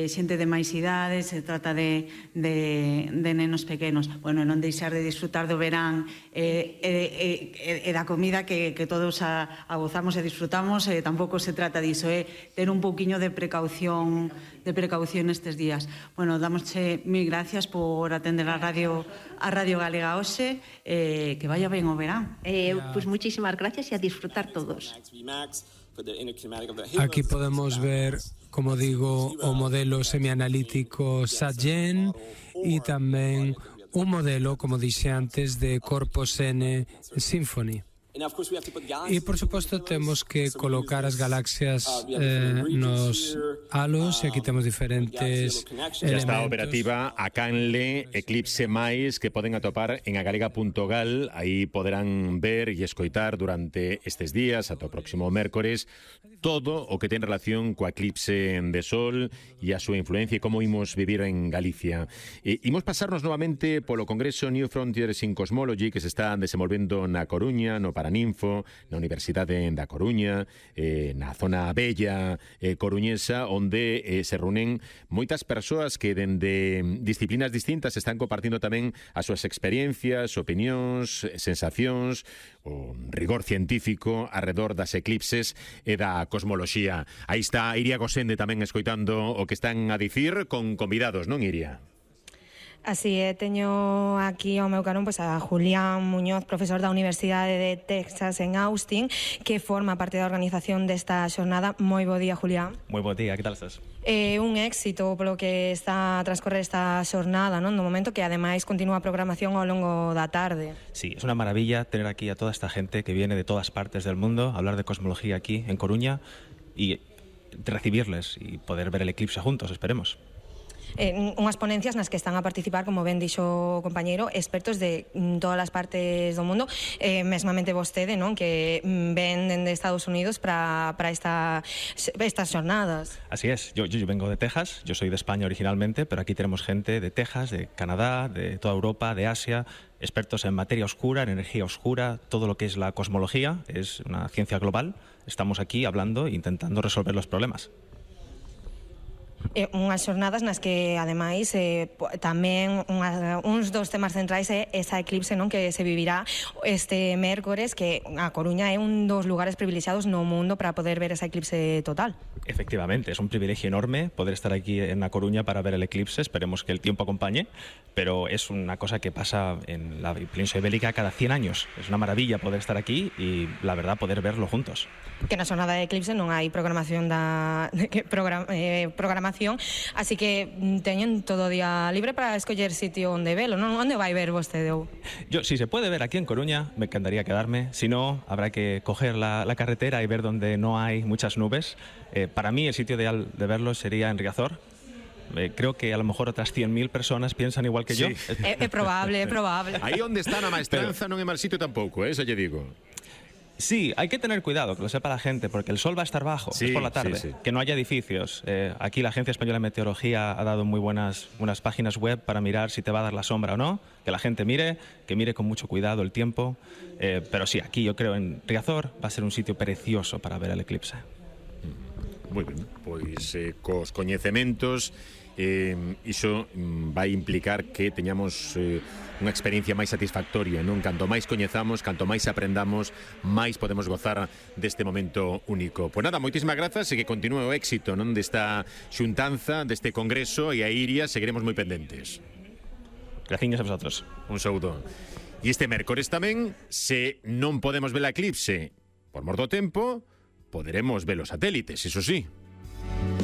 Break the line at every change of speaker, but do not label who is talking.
xente de máis idades, se trata de nenos pequenos. Bueno, non deixar de disfrutar do verán e da comida que todos a gozamos e disfrutamos, tampouco se trata diso, ter un pouquiño de precaución estes días. Bueno, damosche mil gracias por atender a Radio Galega hoxe, que vaya ben o verán.
Pois muchísimas gracias e a disfrutar todos.
Aquí podemos ver, como digo, o modelo semianalítico SAGEN e tamén un modelo, como dixe antes, de Corpus N Symphony. E, por suposto, temos que colocar as galaxias nos halos, e aquí temos diferentes elementos.
Já está operativa a canle Eclipse máis, que poden atopar en agalega.gal. Aí poderán ver e escoitar durante estes días, ata o próximo mércores, todo o que ten relación coa eclipse de sol e a súa influencia e como imos vivir en Galicia. Imos pasarnos novamente polo Congreso New Frontiers in Cosmology, que se está desenvolvendo na Coruña, no Paraninfo, na Universidade da Coruña, na zona bella coruñesa, onde se reúnen moitas persoas que dende disciplinas distintas están compartindo tamén as súas experiencias, opinións, sensacións, o rigor científico arredor das eclipses e da cosmoloxía. Aí está Iria Gosende tamén escoitando o que están a dicir con convidados, non, Iria?
Así é, teño aquí ao meu carón a Julián Muñoz, profesor da Universidade de Texas en Austin, que forma parte da organización desta xornada. Moi bo día, Julián.
Moi bo día, que tal estás?
Un éxito polo que está a transcorrer esta xornada, non? No momento que ademais continúa a programación ao longo da tarde.
Sí, es una maravilla tener aquí a toda esta gente que viene de todas partes del mundo a hablar de cosmología aquí en Coruña y recibirles y poder ver el eclipse juntos, esperemos.
Unhas ponencias nas que están a participar, como ben dixo o compañeiro, expertos de todas as partes do mundo, mesmamente vostede, non, que ven dende Estados Unidos para estas jornadas.
Así es, yo vengo de Texas, yo soy de España originalmente, pero aquí tenemos gente de Texas, de Canadá, de toda Europa, de Asia, expertos en materia oscura, en energía oscura, todo lo que es la cosmología, es una ciencia global. Estamos aquí hablando e intentando resolver los problemas.
Unhas xornadas nas que, ademais, tamén uns dos temas centrais é esa eclipse, non, que se vivirá este mércores, que a Coruña é un dos lugares privilexiados no mundo para poder ver esa eclipse total.
Efectivamente, es un privilegio enorme poder estar aquí en La Coruña para ver el eclipse, esperemos que el tiempo acompañe, pero es una cosa que pasa en la península ibérica cada 100 años. Es una maravilla poder estar aquí y, la verdad, poder verlo juntos.
Que na xornada de eclipse non hai programación así que teñen todo o día libre para escoller sitio onde velo, non? Onde vai ver vostede?
Yo, si se puede ver aquí en Coruña, me encantaría quedarme. Si no, habrá que coger la carretera y ver donde no hay muchas nubes. Para mí, el sitio ideal de verlo sería en Riazor. Creo que a lo mejor otras 100.000 personas piensan igual que yo.
É probable, é probable.
Aí onde está na maestranza non é mal sitio tampouco, eso lle digo.
Sí, hay que tener cuidado, que lo sepa la gente, porque el sol va a estar bajo,
sí,
es por la tarde, sí. Que no haya edificios. Aquí la Agencia Española de Meteorología ha dado muy buenas páginas web para mirar si te va a dar la sombra o no, que la gente mire, que mire con mucho cuidado el tiempo, pero sí, aquí yo creo en Riazor va a ser un sitio precioso para ver el eclipse.
Moi ben, pois cos coñecementos iso vai implicar que teñamos unha experiencia máis satisfactoria, non? Canto máis coñezamos, canto máis aprendamos, máis podemos gozar deste momento único. Pois nada, moitísimas grazas e que continúe o éxito, non, desta xuntanza, deste congreso, e a Iria seguiremos moi pendentes.
Graciñas a vosotros.
Un saúdo. E este mércores tamén, se non podemos ver a eclipse por mor do tempo, poderemos ver os satélites, iso sí.